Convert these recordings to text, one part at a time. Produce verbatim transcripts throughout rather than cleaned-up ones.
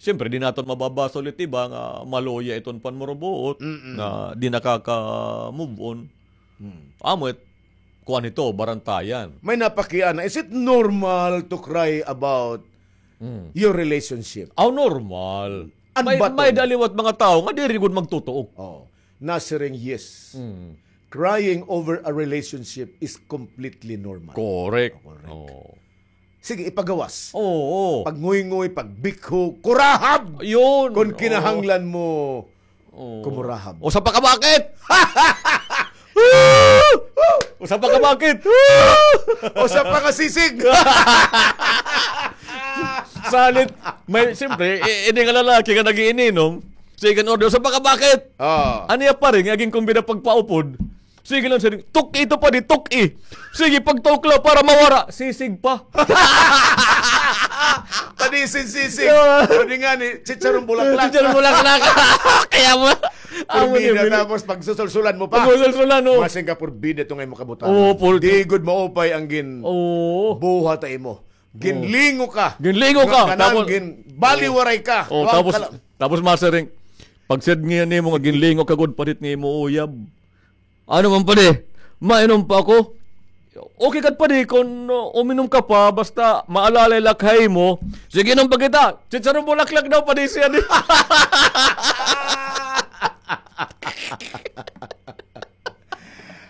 siyempre, di naton mababasol it iba nga maluya iton panmurubuot, Mm-mm. nga di nakaka-move on. Hmm. Amo it, kuan ito, barantayan. May napakiana, is it normal to cry about Mm. your relationship? Aw, normal. An May, baton. May da liwat mga tawo nga diri gud magtutuok. Oh. Nasiring, yes. Mm. Crying over a relationship is completely normal. Correct. Correct. Oh. Sige, ipagawas. Oo. Pagnguyngoy, pagbikho, kurahab! Yun. Kung Oo. kinahanglan mo, Oo. kumurahab. Usa pa ka bakit? Usa pa ka bakit? Usa pa ka sisig! Salit, may, siyempre, i-, ini nga lalaki nga nag-iininom, sige, order, usa pa ka bakit? Oo. Ano ya pa rin, aging kumbida pagpaupod? Sige lang, sige. Tuk-i ito pa, di tuk-i. Sige, pagtukla para mawara. Sisig pa. Padisin sisig. Yeah. Pwede nga ni chicharon bulaklak. Chicharon bulaklak. Kaya mo. Amo Purbida, ni, tapos pagsusulsulan mo pa. Pagsusulsulan, oh. Masing ka purbida ito nga imo kabutangan. Oo, pul- Di gud maupay ang gin Oo. buhat ha imo. Ginlingo ka. Ginlingo ka. Nga kanan Tapos gin-, baliwaray ka. Oh, Wa tapos, ka la- tapos masiring. Pag said nga nimo nga ginlingo ka gud, palit nga imo uyab. Ano man, padi? Mainom pa ako? Okay kad, padi, kon, uh, uminom ka pa, basta maalalay la ak ha imo. Sige, inom pa kita. Chicharon bulaklak daw, padi, siya di.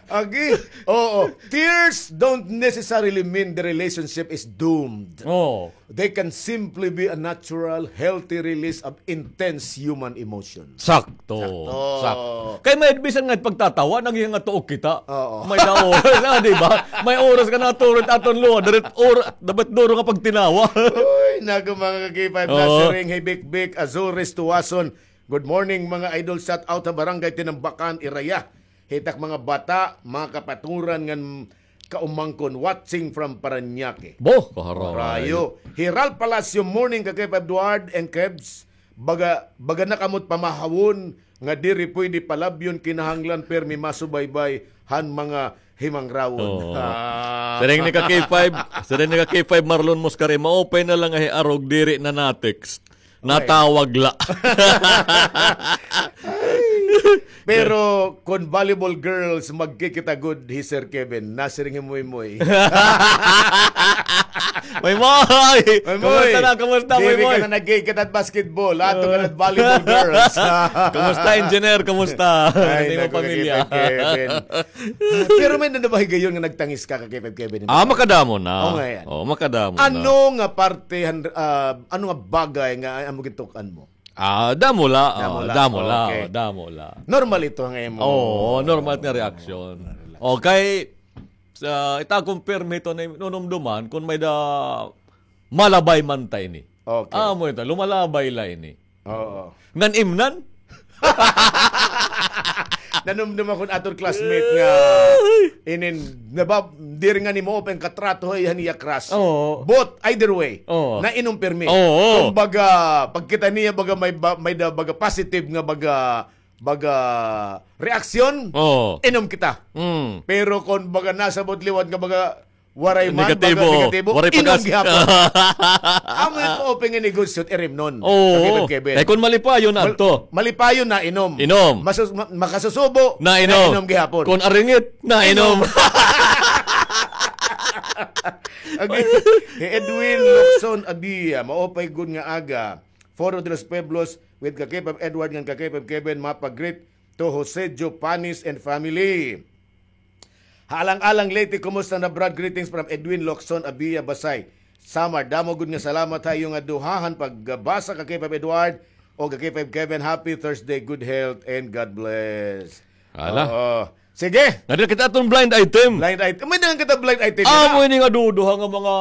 Agi, oo. Tears don't necessarily mean the relationship is doomed. Oo. They can simply be a natural, healthy release of intense human emotion. Sakto. Sakto. Sakto. Kay may bisan nga pagtatawa, naging nga tuok kita. Oo. May da oras, ah, di ba? May oras ka na turot aton luha, darit or-, dapat duro nga pagtinawa. Uy, naku, mga ka-K five, Oo. nasiring, hey, Big Big, Azores, Tuwason. Good morning, mga idol. Shout out ha Barangay Tinambakan, Iraya. Hitak mga bata, mga kapaturan ngan kaumangkon, watching from Parañaque. Bo, kaharayo. Rayo. Hiral Palacio, morning, ka Kev Edward and Kebs. Baga, baga na kamot pamahawon nga diri pwede palabyon, kinahanglan permi masubaybay han mga himangrawon. Oo. Ah. Siring ni ka K five, siring ni ka K five Marlon Moscare, maupay na lang nga hiarog diri na na-text. Natawag la. Pero kon volleyball girls, magkikita gud hi Sir Kevin. Nasiring hi Moy Moy. Moy Moy! Moy Moy! Kumusta na? Kumusta, Moy Moy? Diri ka na nagkikita basketball. Ato ka na volleyball girls. Kumusta, engineer? Kumusta? Ay, naku, pamilya. Kevin. Pero may na ba higayon nga nagtangis ka, ka Kevin? Ah, makadamo na. Oh, ngayon. Oh, makadamo na. Ano nga parte, han-, ah, ano nga bagay nga amo gituk-an mo? Ah, damo la. Damo la. Damo la. Okay. Damo la. Normal ito nga imo. Oo, normal nga reaksyon. Relax. Okay. Sa, ita akon permi ito na nunumduman, kung may da malabay man ta ini. Okay. Amo ito, lumalabay la ini. Oo. Ngan imnan? Nanumdum ako aton classmate nga inin, naba, diri nga nimo open katrato, hay, han iya crush. Oo. But, either way, Oo. nainom pirmi. Oo. Kumbaga, pagkita niya, baga may ba-, may da, baga positive nga, baga, baga reaksyon, Oo. inom kita. Mm. Pero kung baga nasabot liwat nga baga waray man, Negatibo. baga negatibo, Waray inom pagas. gihapon. Amo it open nga negosyo, irimnon. Oo. Kevin, Kevin. Kay kung malipayon na Mal-, adto. malipayon na, inom. Inom. Masus-, ma-, makasusubo, Na inom. na inom gihapon. Kung aringit, na inom. Inom. Okay. Hey, Edwin Locson Abia, maupay gud nga aga. Foro de los Pueblos with ka K five Edward ngan ka K five Kevin, mapa-greet to Jose Joe Panis and family. Ha Alang-alang, Leyte, kumusta na, Brad? Greetings from Edwin Locson Abia, Basay, Samar. Damo gud nga salamat ha iyo nga duha han pagbasa, ka K five Edward o ka K five Kevin. Happy Thursday, good health, and God bless. Ala. Oo. Sige. Ngadto kita aton blind item. Blind item. May na kita blind item. Ah, amo ini nga duduha nga mga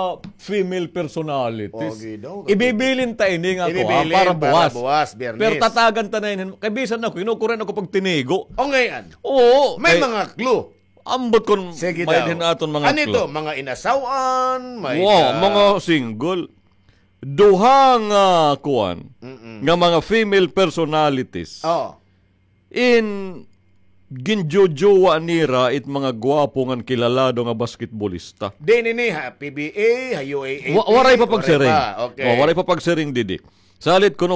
female personalities. Okay daw. Ibibilin ta ini nga ako, ah, Ibibilin para para buwas. buwas, Biyernes. Pero tatagan ta na ini. Kay bisan ako, kinukuren ako pag tinigo. O, ngayon. Oo, May kay mga clue. Ambot kon Sige may daw. din aton mga Ano ito? clue. Mga inasawan, may Wow, ka- mga single. Duha nga kuan, Mm-mm. nga mga female personalities. Oo. In ginjojowa nira it mga gwapo ngan kilalado nga basketbolista. Di nini ha P B A, ha U A A P, Wa-, waray pa pagsiring. waray pa. Okay. Oh, waray pa pagsiring didi. Salit kuno